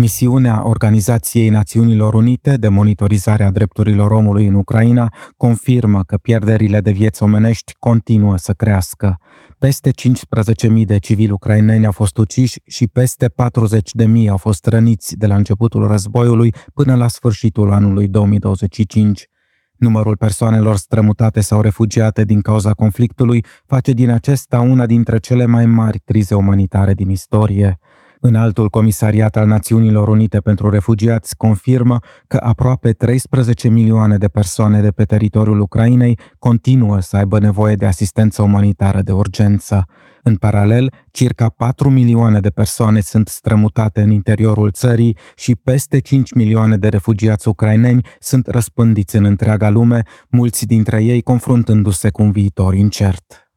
Misiunea Organizației Națiunilor Unite de monitorizare a drepturilor omului în Ucraina confirmă că pierderile de vieți omenești continuă să crească. Peste 15.000 de civili ucraineni au fost uciși și peste 40.000 au fost răniți de la începutul războiului până la sfârșitul anului 2025. Numărul persoanelor strămutate sau refugiate din cauza conflictului face din acesta una dintre cele mai mari crize umanitare din istorie. Înaltul Comisariat al Națiunilor Unite pentru Refugiați confirmă că aproape 13 milioane de persoane de pe teritoriul Ucrainei continuă să aibă nevoie de asistență umanitară de urgență. În paralel, circa 4 milioane de persoane sunt strămutate în interiorul țării și peste 5 milioane de refugiați ucraineni sunt răspândiți în întreaga lume, mulți dintre ei confruntându-se cu un viitor incert.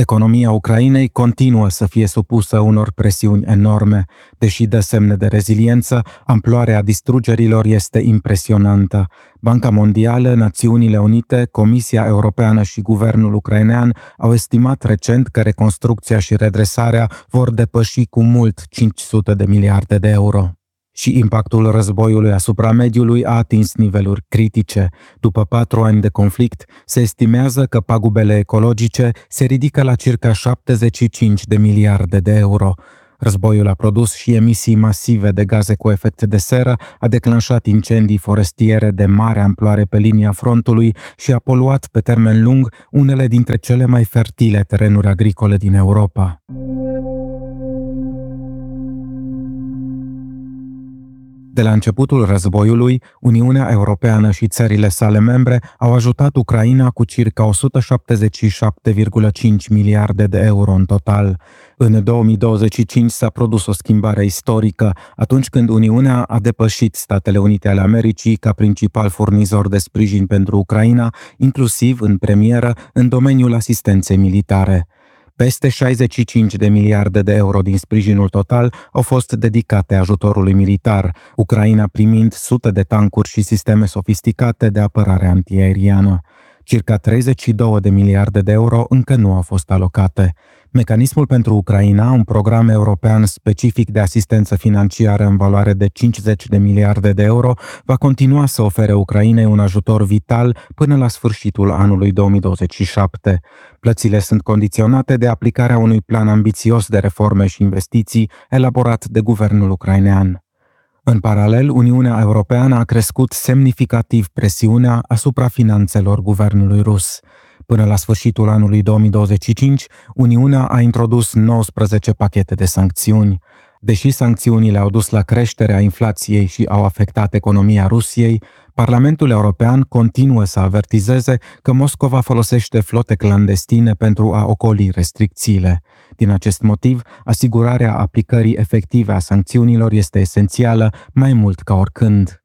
Economia Ucrainei continuă să fie supusă unor presiuni enorme. Deși dă semne de reziliență, amploarea distrugerilor este impresionantă. Banca Mondială, Națiunile Unite, Comisia Europeană și guvernul ucrainean au estimat recent că reconstrucția și redresarea vor depăși cu mult 500 de miliarde de euro. Și impactul războiului asupra mediului a atins niveluri critice. După 4 ani de conflict, se estimează că pagubele ecologice se ridică la circa 75 de miliarde de euro. Războiul a produs și emisii masive de gaze cu efect de seră, a declanșat incendii forestiere de mare amploare pe linia frontului și a poluat pe termen lung unele dintre cele mai fertile terenuri agricole din Europa. De la începutul războiului, Uniunea Europeană și țările sale membre au ajutat Ucraina cu circa 177,5 miliarde de euro în total. În 2025 s-a produs o schimbare istorică, atunci când Uniunea a depășit Statele Unite ale Americii ca principal furnizor de sprijin pentru Ucraina, inclusiv în premieră în domeniul asistenței militare. Peste 65 de miliarde de euro din sprijinul total au fost dedicate ajutorului militar, Ucraina primind sute de tancuri și sisteme sofisticate de apărare antiaeriană. Circa 32 de miliarde de euro încă nu au fost alocate. Mecanismul pentru Ucraina, un program european specific de asistență financiară în valoare de 50 de miliarde de euro, va continua să ofere Ucrainei un ajutor vital până la sfârșitul anului 2027. Plățile sunt condiționate de aplicarea unui plan ambițios de reforme și investiții elaborat de guvernul ucrainean. În paralel, Uniunea Europeană a crescut semnificativ presiunea asupra finanțelor guvernului rus. Până la sfârșitul anului 2025, Uniunea a introdus 19 pachete de sancțiuni. Deși sancțiunile au dus la creșterea inflației și au afectat economia Rusiei, Parlamentul European continuă să avertizeze că Moscova folosește flote clandestine pentru a ocoli restricțiile. Din acest motiv, asigurarea aplicării efective a sancțiunilor este esențială mai mult ca oricând.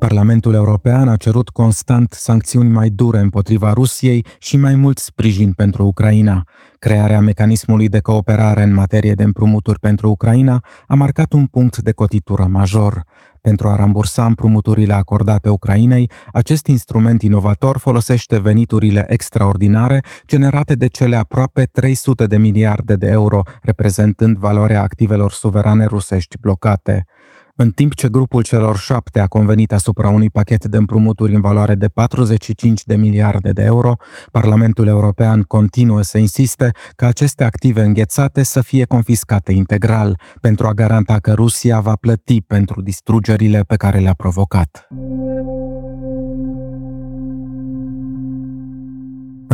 Parlamentul European a cerut constant sancțiuni mai dure împotriva Rusiei și mai mult sprijin pentru Ucraina. Crearea mecanismului de cooperare în materie de împrumuturi pentru Ucraina a marcat un punct de cotitură major. Pentru a rambursa împrumuturile acordate Ucrainei, acest instrument inovator folosește veniturile extraordinare generate de cele aproape 300 de miliarde de euro, reprezentând valoarea activelor suverane rusești blocate. În timp ce grupul celor 7 a convenit asupra unui pachet de împrumuturi în valoare de 45 de miliarde de euro, Parlamentul European continuă să insiste ca aceste active înghețate să fie confiscate integral, pentru a garanta că Rusia va plăti pentru distrugerile pe care le-a provocat.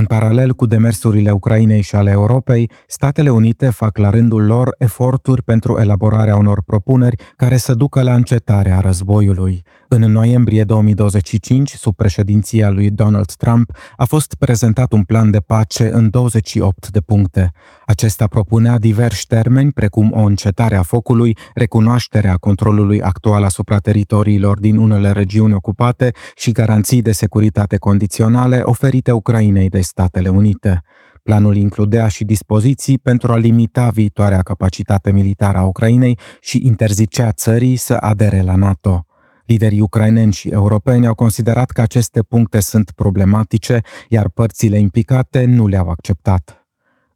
În paralel cu demersurile Ucrainei și ale Europei, Statele Unite fac la rândul lor eforturi pentru elaborarea unor propuneri care să ducă la încetarea războiului. În noiembrie 2025, sub președinția lui Donald Trump, a fost prezentat un plan de pace în 28 de puncte. Acesta propunea diversi termeni, precum o încetare a focului, recunoașterea controlului actual asupra teritoriilor din unele regiuni ocupate și garanții de securitate condiționale oferite Ucrainei de Statele Unite. Planul includea și dispoziții pentru a limita viitoarea capacitate militară a Ucrainei și interzicea țării să adere la NATO. Liderii ucraineni și europeni au considerat că aceste puncte sunt problematice, iar părțile implicate nu le-au acceptat.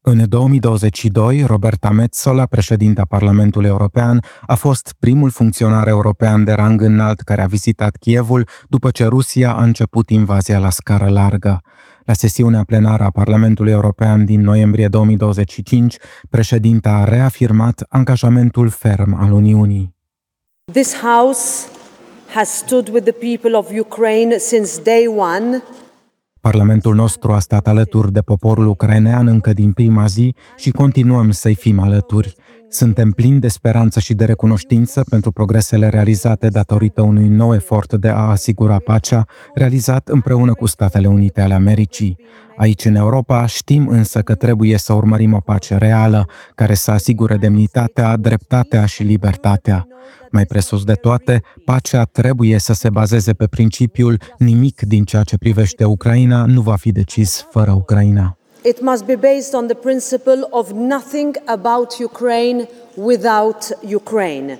În 2022, Roberta Metsola, președinta Parlamentului European, a fost primul funcționar european de rang înalt care a vizitat Kievul după ce Rusia a început invazia la scară largă. La sesiunea plenară a Parlamentului European din noiembrie 2025, președinta a reafirmat angajamentul ferm al Uniunii. This house has stood with the people of Ukraine since day one. Parlamentul nostru a stat alături de poporul ucrainean încă din prima zi și continuăm să-i fim alături. Suntem plini de speranță și de recunoștință pentru progresele realizate datorită unui nou efort de a asigura pacea, realizat împreună cu Statele Unite ale Americii. Aici, în Europa, știm însă că trebuie să urmărim o pace reală, care să asigure demnitatea, dreptatea și libertatea. Mai presus de toate, pacea trebuie să se bazeze pe principiul nimic din ceea ce privește Ucraina nu va fi decis fără Ucraina. It must be based on the principle of nothing about Ukraine without Ukraine.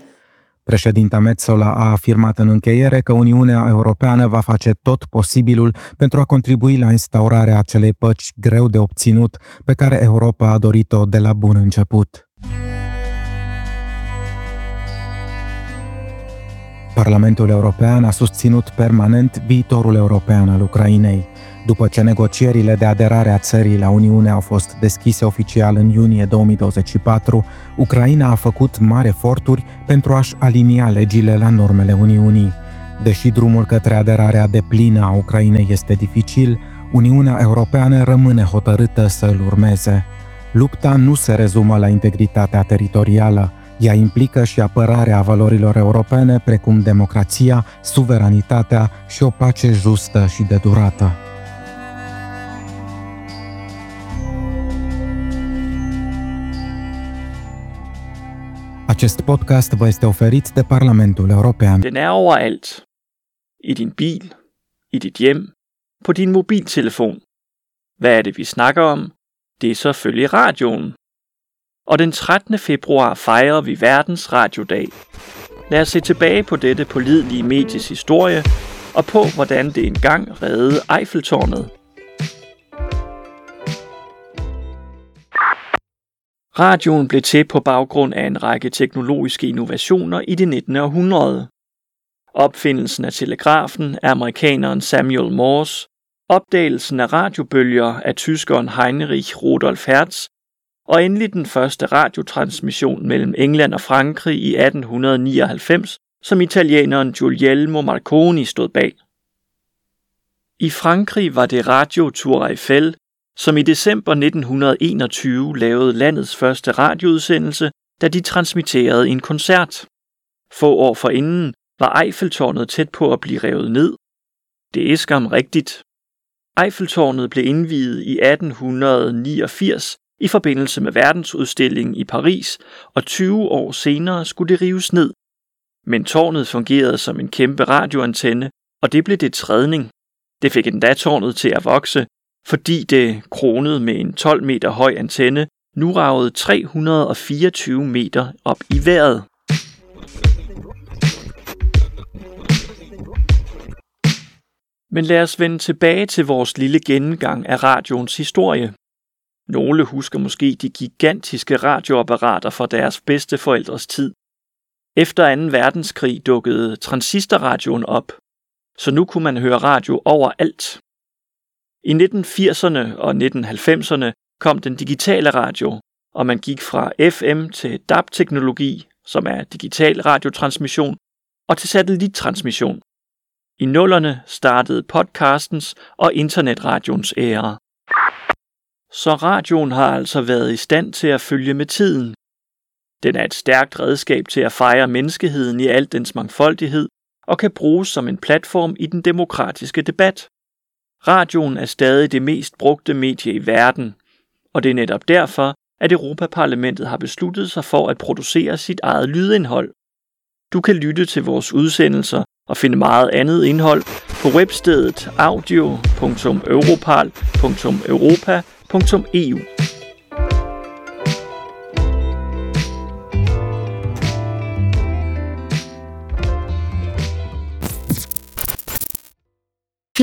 Președinta Metsola a afirmat în încheiere că Uniunea Europeană va face tot posibilul pentru a contribui la instaurarea acelei păci greu de obținut pe care Europa a dorit-o de la bun început. Parlamentul European a susținut permanent viitorul european al Ucrainei. După ce negocierile de aderare a țării la Uniune au fost deschise oficial în iunie 2024, Ucraina a făcut mari eforturi pentru a-și alinia legile la normele Uniunii. Deși drumul către aderarea deplină a Ucrainei este dificil, Uniunea Europeană rămâne hotărâtă să îl urmeze. Lupta nu se rezumă la integritatea teritorială, ea implică și apărarea valorilor europene precum democrația, suveranitatea și o pace justă și de durată. Acest podcast vă este oferit de Parlamentul European. Den er overalt. I din bil, i dit hjem, på din mobiltelefon. Hvad er det, vi snakker om? Det er selvfølgelig radioen. Og den 13. februar fejrer vi Verdens Radiodag. Lad os se tilbage på dette pålidelige medies historie og på, hvordan det engang reddede Eiffeltårnet. Radioen blev til på baggrund af en række teknologiske innovationer i det 19. århundrede. Opfindelsen af telegrafen af amerikaneren Samuel Morse, opdagelsen af radiobølger af tyskeren Heinrich Rudolf Hertz, og endelig den første radiotransmission mellem England og Frankrig i 1899, som italieneren Guglielmo Marconi stod bag. I Frankrig var det Radio Tour Eiffel, som i december 1921 lavede landets første radioudsendelse, da de transmitterede en koncert. Få år forinden var Eiffeltårnet tæt på at blive revet ned. Det er skam rigtigt. Eiffeltårnet blev indviet i 1889 i forbindelse med verdensudstillingen i Paris, og 20 år senere skulle det rives ned. Men tårnet fungerede som en kæmpe radioantenne, og det blev dets redning. Det fik endda tårnet til at vokse, fordi det, kronet med en 12 meter høj antenne, nu ragede 324 meter op i vejret. Men lad os vende tilbage til vores lille gennemgang af radioens historie. Nogle husker måske de gigantiske radioapparater fra deres bedsteforældres tid. Efter 2. verdenskrig dukkede transistorradioen op, så nu kunne man høre radio overalt. I 1980'erne og 1990'erne kom den digitale radio, og man gik fra FM til DAB-teknologi, som er digital radiotransmission, og til satellittransmission. I nullerne startede podcastens og internetradions æra. Så radioen har altså været i stand til at følge med tiden. Den er et stærkt redskab til at fejre menneskeheden i al dens mangfoldighed og kan bruges som en platform i den demokratiske debat. Radioen er stadig det mest brugte medie i verden, og det er netop derfor, at Europaparlamentet har besluttet sig for at producere sit eget lydindhold. Du kan lytte til vores udsendelser og finde meget andet indhold på webstedet audio.europarl.europa.eu.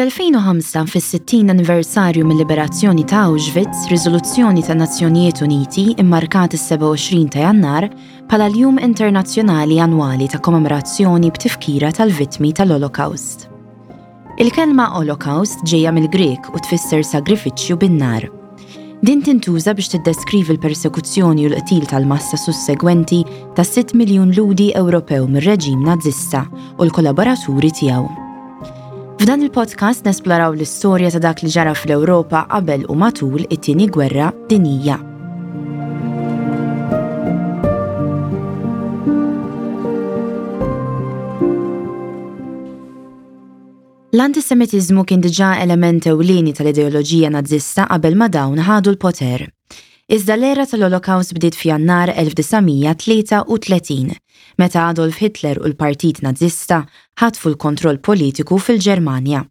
Fl-2005, fis-60 anniversarju mil-liberazzjoni ta' Auschwitz, riżoluzzjoni tan-Nazzjonijiet Uniti immarkat is-27 ta' Jannar bħala l-Jum Internazzjonali Annwali ta' Kommemorazzjoni b'Tifkira tal-Vittmi tal-Olokawst. Il-kelma Olokawst ġejja mill-Grieg u tfisser sagrifiċċju bin-nar. Din tintuża biex tiddeskrivi l-persekuzzjoni u l-qtil tal-massa sussegwenti ta' 6 miljun Lhudi Ewropew mir-reġim Nażista u l-kollaboraturi tiegħu. F'dan il-podcast nesploraw l-istorja ta' dak li ġara fl-Ewropa qabel u matul it-Tieni Gwerra Dinjija. L-antisemitiżmu kien diġà element ewlieni tal-ideoloġija Nażista qabel ma dawn ħadu l-poter. Iżda l-era tal-Olokawst bdiet f'Jannar 1933, meta Adolf Hitler u l-Partit Nażista ħatfu l-kontroll politiku fil-Ġermanja.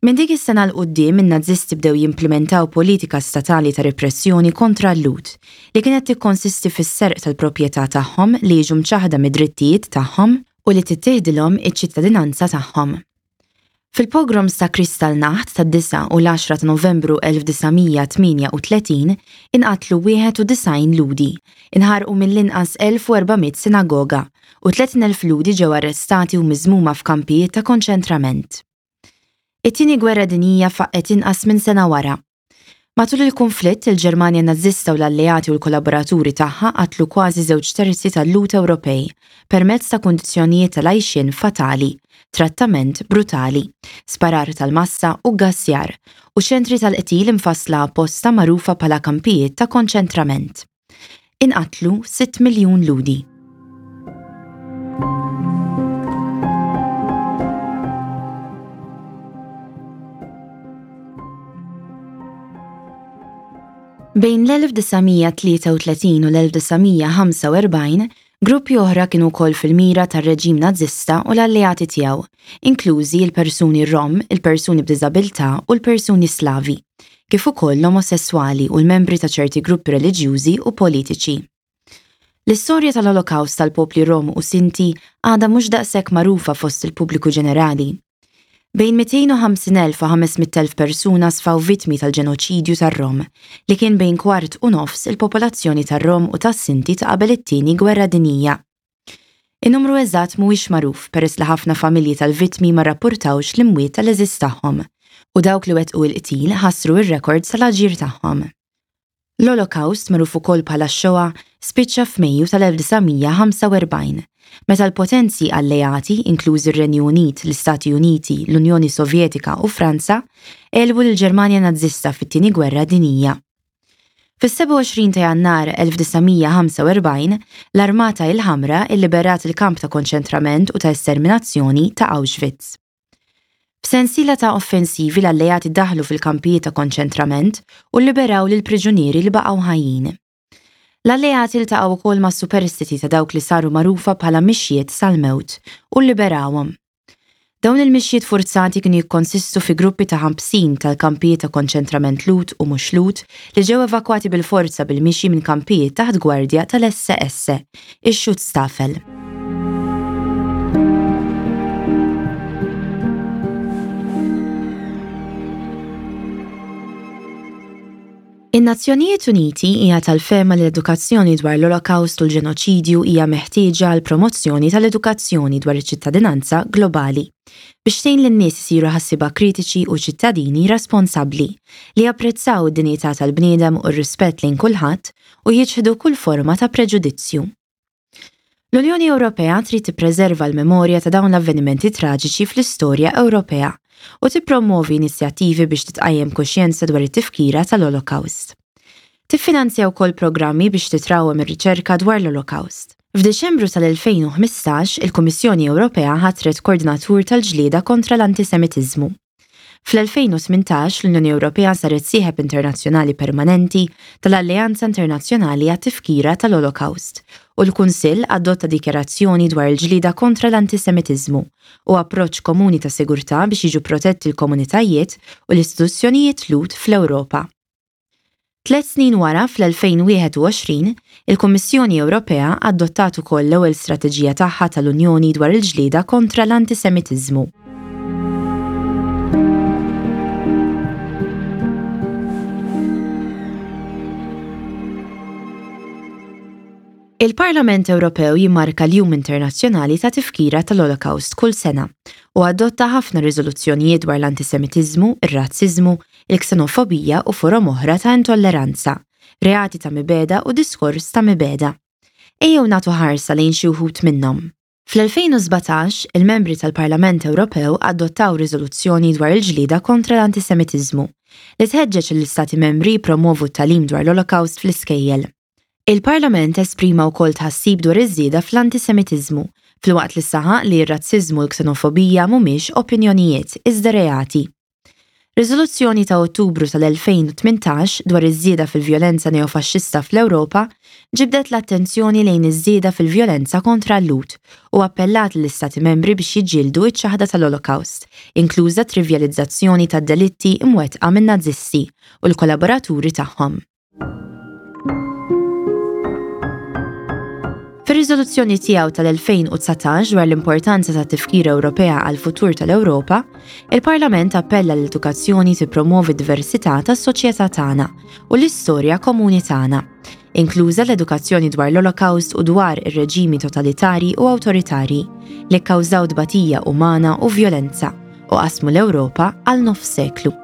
Minn dik is-sena 'l quddiem in-Nażisti bdew jimplimentaw politika statali ta' repressjoni kontra l-Lhud, li kienet tikkonsisti fis-serq tal-proprjetà tagħhom li jiġu mċaħħda mid-drittijiet tagħhom u li tittieħdilhom iċ-ċittadinanza tagħhom. Fil-pogroms ta' Kristallnacht tad-9 u l-10 ta' Novembru 1938 inqatlu 91 Lhudi, inħarqu mill-inqas 1,400 sinagoga u 30,000 Lhudi ġew arrestati u miżmuma f'kampijiet ta' konċentrament. It-Tieni Gwerra Dinjija faqqgħet inqas minn sena wara. Matul il-kunflitt, il-Ġermanja Nażista u l-alleati u l-kollaboraturi tagħha qatlu kważi żewġ terzi tal-Lhud Ewropej permezz ta' kundizzjonijiet tal-għajxien fatali, trattament brutali, sparar tal-massa u ggassjar, u ċentri tal-qtil imfassla apposta magħrufa bħala kampijiet ta' konċentrament. Inqatlu 6 miljun Lhudi. Bejn l-1933 u l-1945, gruppi oħra kienu wkoll fil-mira tar-reġim Nażista u l-alleati tiegħu, inklużi l-persuni Rom, il-persuni b'diżabilità u l-persuni Slavi. kif ukoll l-omosesswali u l-membri ta' ċerti gruppi reliġjużi u politiċi. L-istorja tal-Olokawst tal-popli Rom u Sinti għadha mhux daqshekk magħrufa fost il-pubbliku ġenerali. Bejn 250,000 u 500,000 persuna sfaw vittmi tal-ġenoċidju tar-Rom, li kien bejn kwart u nofs il-popolazzjoni tar-Rom u tas-Sinti ta' qabel it-Tieni Gwerra Dinjija. In-numru eżatt mhuwiex magħruf peress li ħafna familji tal-vittmi ma rrappurtawx l-imwiet tal-għeżież tagħhom u dawk li wettqu l-qtil ħassru r-rekords tal-aġir tagħhom. L-Olokawst, magħruf ukoll bħala x-Shoah, spiċċa f'Mejju tal-1945, meta l-potenzi alleati, inklużi r-Renju Unit, l-Istati Uniti, l-Unjoni Sovjetika u Franza, għelbu lill-Ġermanja Nażista fit-Tieni Gwerra Dinjija. Fis-27 ta' Jannar 1945, l-Armata il-Ħamra illiberat il-kamp ta' konċentrament u ta' esterminazzjoni ta' Auschwitz. F'sensiela ta' offensivi l-Alleati daħlu fil-kampijiet ta' konċentrament u lliberaw lill-priġunieri li baqgħu ħajjin. L-Alleati ltaqgħu wkoll mas-superstiti ta' dawk li saru magħrufa bħala mixjiet sal-mewt u lliberawhom. Dawn il-mixjiet furzati kienu jikkonsistu fi gruppi ta' ħabsin tal-kampijiet ta' konċentrament Lhud u mhux Lhud li ġew evakwati bil-forza bil-mixi minn kampijiet taħt gwardja tal-SS, ix-Schutzstaffel. In-Nazzjonijiet Uniti hija tal-fehma li l-edukazzjoni dwar l-Olokawst u l-ġenoċidju hija meħtieġa għall-promozzjoni tal-edukazzjoni dwar iċ-ċittadinanza globali, biex tgħin lin-nies isiru ħassieba kritiċi u ċittadini responsabbli, li japprezzaw id-dinjità tal-bniedem u r-rispett lejn kulħadd u jiċħdu kull forma ta' preġudizzju. L-Unjoni Ewropea trid tippreserva l-memorja ta' dawn l-avvenimenti traġiċi fl-istorja Ewropea u tippromwovi inizjattivi biex titqajjem kuxjenza dwar it-tifkira tal-Olokawst. Tiffinanzja wkoll programmi biex titrawwem ir-riċerka dwar l-Olokawst. F'Diċembru tal-2015, il-Kummissjoni Ewropea ħatret Koordinatur tal-Ġlieda kontra l-Antisemitiżmu. Fl-2018, l-Unjoni Ewropea saret sieħeb internazzjonali permanenti tal-Alleanza Internazzjonali għat-Tifkira tal-Olokawst u l-Kunsill adotta dikjarazzjoni dwar il-ġlieda kontra l-antisemitiżmu u approċċ komuni ta' sigurtà biex jiġu protetti l-komunitajiet u l-istituzzjonijiet Lhud fl-Ewropa. Tliet snin wara, fl-2021, il-Kummissjoni Ewropea adottat ukoll l-ewwel strateġija tagħha tal-Unjoni dwar il-ġlieda kontra l-antisemitiżmu. Il-Parlament Ewropew jimmarka l-Jum Internazzjonali ta' Tifkira tal-Olokawst kull sena u adotta ħafna riżoluzzjonijiet dwar l-antisemitiżmu, ir-razziżmu, il-ksenofobija u forom oħra ta' intolleranza, reati ta' mibegħda u diskors ta' mibegħda. Ejjew nagħtu ħarsa lejn xi wħud minnhom. Fl-2017, il-membri tal-Parlament Ewropew adottaw riżoluzzjoni dwar il-ġlieda kontra l-antisemitiżmu, li tħeġġeġ lill-Istati Membri jippromwovu t-tagħlim dwar l-Olokawst fl-iskejjel. Il-Parlament esprima wkoll tħassib dwar iż-żieda fl-antisemitiżmu, filwaqt li saħaq li r-razziżmu u l-ksenofobija mhumiex opinjonijiet, iżda reati. Riżoluzzjoni ta' Ottubru tal-2018 dwar iż-żieda fil-vjolenza neofaxxista fl-Ewropa ġibdet l-attenzjoni lejn iż-żieda fil-vjolenza kontra l-Lhud u appellat lill-Istati Membri biex jiġġieldu ċ-ċaħda tal-Olokawst, inkluża t-trivjalizzazzjoni tad-delitti mwettqa min-Nazisti u l-kollaboraturi tagħhom. Fir-riżoluzzjoni tiegħu tal-2019 dwar l-importanza ta' tifkira Ewropea għall-futur tal-Ewropa, il-Parlament appella l-edukazzjoni tippromovi d-diversità tas-soċjetà tagħna u l-istorja komuni tagħna, inkluża l-edukazzjoni dwar l-Olokawst u dwar ir-reġimi totalitarji u awtoritarji li kkawżaw tbatija umana u vjolenza u qasmu l-Ewropa għal nofs seklu.